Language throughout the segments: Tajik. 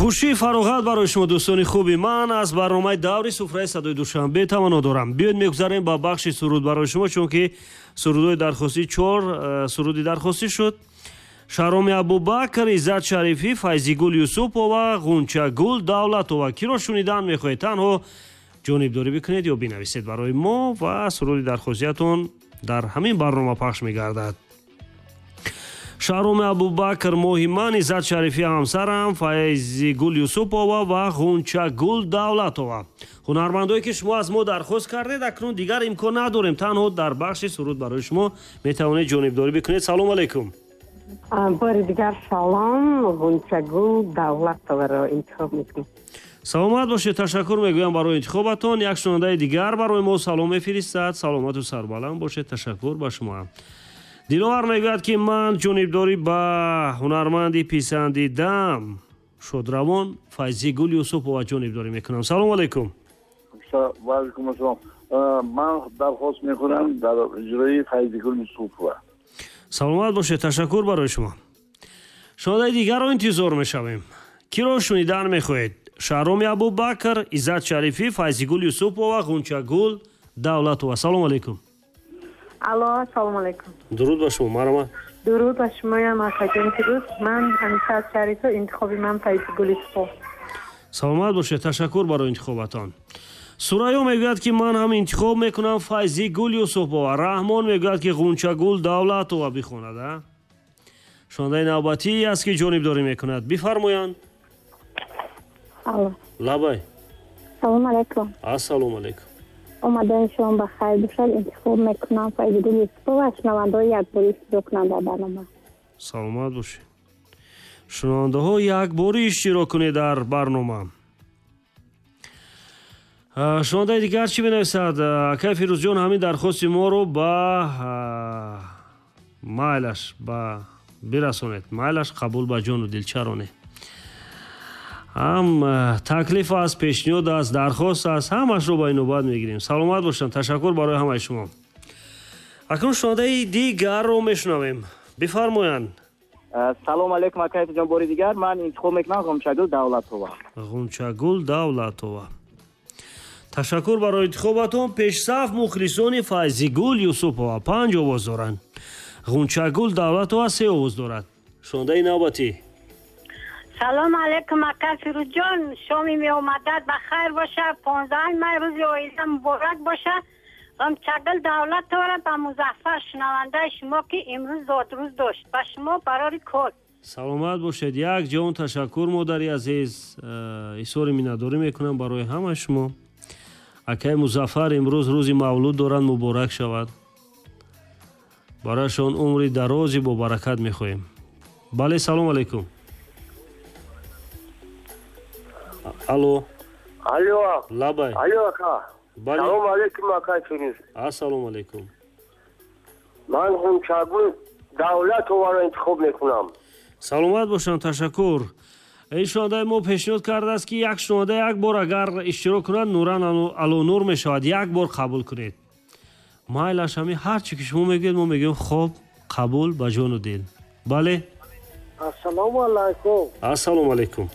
Хушии фароғат барои шумо, дӯстони хуби ман, аз барномаи даври суфраи садои Душанбе таманно дорам. Биёед, мегузарем ба бахши суруд барои шумо, чунки сурудҳои дархостӣ, чор суруди дархостӣ шуд: Шаҳроми Абубакр, Иззат Шарифӣ, Файзигул Юсупова, Ғунчагул Давлатова. Киро шунидан мехоҳед, танҳо ҷонибдорӣ бикунед ё бинависед барои мо ва суруди дархостиятон дар ҳамин барнома пахш мегардад. Шаҳроми Абубакр, «Моҳи ман», Иззат Шарифӣ, «Ҳамсарам», Файзигул Юсупова ва Ғунчагул Давлатова. Ҳунармандое, ки шумо аз мо дархост кардед, акнун дигар имкон надорем, танҳо дар бахши суруд барои шумо метавонед ҷонибдорӣ бикунед. Салом алейкум. Бори дигар салом. Ғунчагул Давлатоваро интихоб мекунем. Саломат бошед, ташаккур мегӯям барои интихобатон. Як шунавандаи дигар барои мо салом мефиристад. Саломату сарбаланд бошед, ташаккур ба шумо. Диловар мегӯяд, ки ман ҷонибдорӣ ба ҳунарманди писандидам, шодравон Файзигул Юсупова ҷонибдорӣ мекунам. Салому алайкум. Ваалайкум ассалом. Ман дархост мекунам дар иҷрои Файзигул Юсупова. Саломат бошед, ташаккур барои шумо. Шунавандаи дигарро интизор мешавем. Киро шунидан мехоҳед? Шаҳроми Абубакр, Иззат Шарифӣ, Файзигул Юсупова, Ғунчагул Давлатова. Салому алайкум. Алло, салому алайкум. Дуруд ба шумо, марҳамат. Дуруд ба шумоям, акаҷон Фирӯз. Ман Иззат Шарифӣ, интихоби ман Файзигул Юсупов. Саломат бошед, ташаккур барои интихобатон. Сурайё мегӯяд, ки ман ҳам интихоб мекунам Файзигул Юсупова. Раҳмон мегӯяд, ки Ғунчагул Давлатова бихонад. А шунавандаи навбатӣ аст, ки ҷонибдорӣ мекунад, бифармоянд. Алло. Лабай. Салом алайкум. Ассалому алайкум. Омадани шумо ба хайр бошад. Интихоб мекунам Файзигул Юсупова. Шунавандаҳо якборӣ иштирок кунанд дар барнома. Саломат бошед. Шунавандаҳо, якборӣ иштирок кунед дар барнома. Шунавандаи дигар чӣ менависад? Акай Фирӯзҷон, ҳамин дархости моро ба майлаш ба бирасонед. Майлаш, қабул ба ҷону дил, чаро не? Ҳам таклиф аст, пешниҳод аст, дархост аст, ҳамашро ба инобат мегирем. Саломат бошанд, ташаккур барои ҳамаи шумо. Акнун шунавандаи дигарро мешунавем, бифармоянд. Салом алейкум, акай Фирӯзҷон, бори дигар ман интихоб мекунам Ғунчагул Давлатова. Ғунчагул Давлатова, ташаккур барои интихобатон. Пешсаф мухлисони Файзигул Юсупова панҷ овоз доранд, Ғунчагул Давлатова се овоз дорад. Шунавандаи навбатӣ. Салом алейкум, ака Фирӯзҷон. Шоми меомадат ба хайр боша. 15 май, рӯзи оила муборак боша. Ғунчагул Давлатовара ба Музаффар, шунавандаи шумо, ки имрӯз зодрӯз дошт, ба шумо барори кор. Саломат бошед, як ҷаҳон ташаккур, модари азиз. Изҳори миннатдорӣ мекунам барои ҳамаи шумо. Акаи Музаффар имрӯз рӯзи мавлуд доранд, муборак шавад барояшон, умри дарози бобаракат мехоҳем. Бале, салом алейкум. Алло. Алло. Лабай. Алло, ака. Бале. Салом алейкум, акай Фирӯз. Ассалому алейкум. Ман Ғунчагул Давлатоваро интихоб мекунам. Саломат бошанд, ташаккур. Ин шунавандаи мо пешниҳод кардааст, ки як шунаванда як бор агар иштирок кунад, нуран алонур мешавад, як бор қабул кунед. Майлаш, ҳами ҳар чӣ ки шумо мегӯед, мо мегӯем хоб, қабул ба ҷону дил. Бале. Ассалому алайкум. Ассалому алайкум.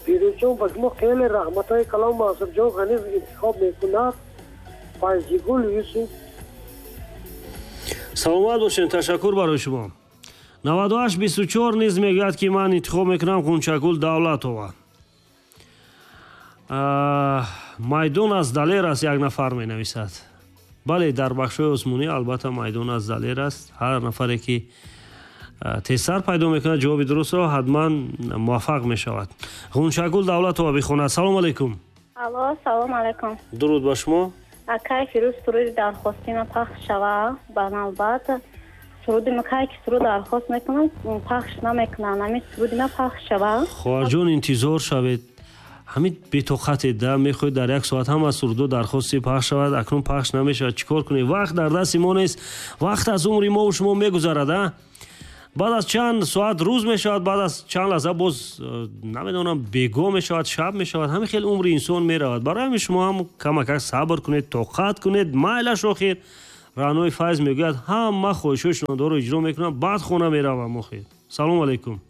Фирӯзҷон, ба шумо хеле раҳматҳои калом. Мансурҷон Ғаниф интихоб мекунад Файзигул Юсуф. Саломат бошед, ташаккур барои шумо. 9824 низ мегӯяд, ки ман интихоб мекунам Ғунчагул Давлатова. Майдон аз Далер аст, як нафар менависад. Бале, дар бахшҳои осмонӣ албатта майдон аз Далер аст. Ҳар нафаре ки тезтар пайдо мекунад ҷавоби дурустро, ҳатман муваффақ мешавад. Ғунчагул Давлатова бихонад. Салому алайкум. Алло, салом алайкум. Дуруд ба шумо. Акай Фирӯз, суруди дархостима пахш шава ба навбат. Суруди ма, кай ки суруд дархост мекунам, пахш намекунанд. Ҳамин суруди ма пахш шава. Хоҳарҷон, интизор шавед. Ҳамин бетоқатед да, мехоҳед дар як соат ҳама сурудо дархости пахш шавад, акнун пахш намешавад. Чӣ кор кунед? Вақт дар дасти мо нест, вақт аз умри мову шумо мегузарад. А баъд аз чанд соат рӯз мешавад, баъд аз чанд лаҳза боз намедонам, бего мешавад, шаб мешавад. Ҳамин хел умри инсон меравад. Барои ҳамин шумо ҳам камакак сабр кунед, тоқат кунед. Майлаш, охир Раънои Файз мегӯяд: ҳама хоҳишҳои шунавандаҳоро иҷро мекунам, баъд хона меравам. Охир, салому алайкум.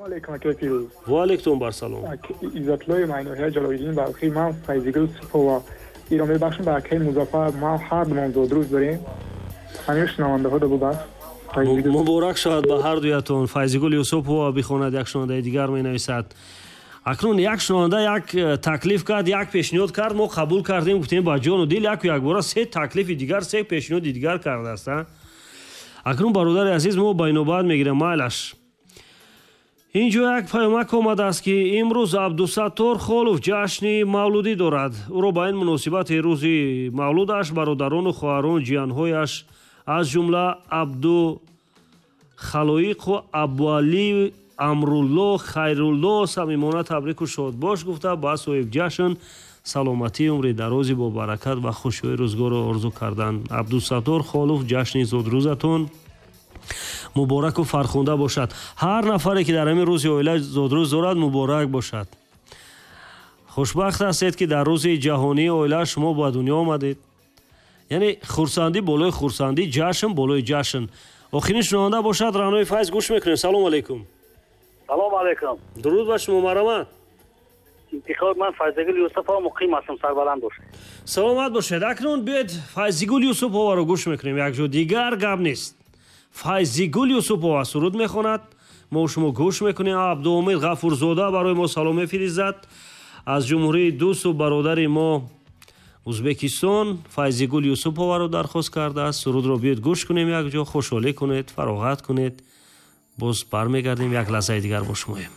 Алейкум, акай Фирӯз. Ва алейкум бар салом. Иззатуллои Майноҳия Ҷалолиддин Балхӣ, ман Файзигул Юсупова иро мебахшам ба акай Музаффар. Ма ҳар думон зодрӯз дорем. Ҳамин шунавандаҳо бубахш. Муборак шавад ба ҳар дуятон. Файзигул Юсупова бихонад, як шунавандаи дигар менависад. Акнун як шунаванда як таклиф кард, як пешниҳод кард, мо қабул кардем, гуфтем ба ҷону дил, яку якбора се таклифи дигар, се пешниҳоди дигар кардааст. Акнун, бародари азиз, мо ба инобат мегирем, майлаш. Инҷо як паёмак омадааст, ки имрӯз Абдусаттор Холов ҷашни мавлудӣ дорад. Ӯро ба ин муносибати рӯзи мавлудаш бародарону хоҳарон, ҷиянҳояш, аз ҷумла Абдухалоиқу Абуалӣ, Амрулло, Хайрулло самимона табрику шодбош гуфта, ба соҳибҷашн саломатӣ, умри дарози бобаракат ва хушиҳои рӯзгорро орзу карданд. Абдусаттор Холов, ҷашни зодрӯзатон мубораку фархунда бошад. Ҳар нафаре, ки дар ҳамин рӯзи оила зодрӯз дорад, муборак бошад. Хушбахт ҳастед, ки дар рӯзи ҷаҳонии оила шумо ба дунё омадед. Яъне хурсандӣ болои хурсандӣ, ҷашн болои ҷашн. Охирин шунаванда бошад, Раънои Файз, гӯш мекунем. Салому алайкум. Салом алейкум. Дуруд ба шумо, марҳамат. Интихоби ман Файзигул Юсупова, муқим ҳастам, сарбаланд бошед. Саломат бошед. Акнун биёед Файзигул Юсупованро гӯш мекунем якҷо, дигар гап нест. Файзигул Юсупова суруд мехонад, мо шумо гӯш мекунем. Абдуомид Ғафурзода барои мо салом мефиризад аз ҷумҳурии дӯсту бародари мо Узбекистон. Файзигул Юсупованро дархост кардааст. Сурудро биёед гӯш кунем якҷо, хушҳолӣ кунед, фароғат кунед. Боз бармегардем, як лаҳзаи дигар бо шумоем.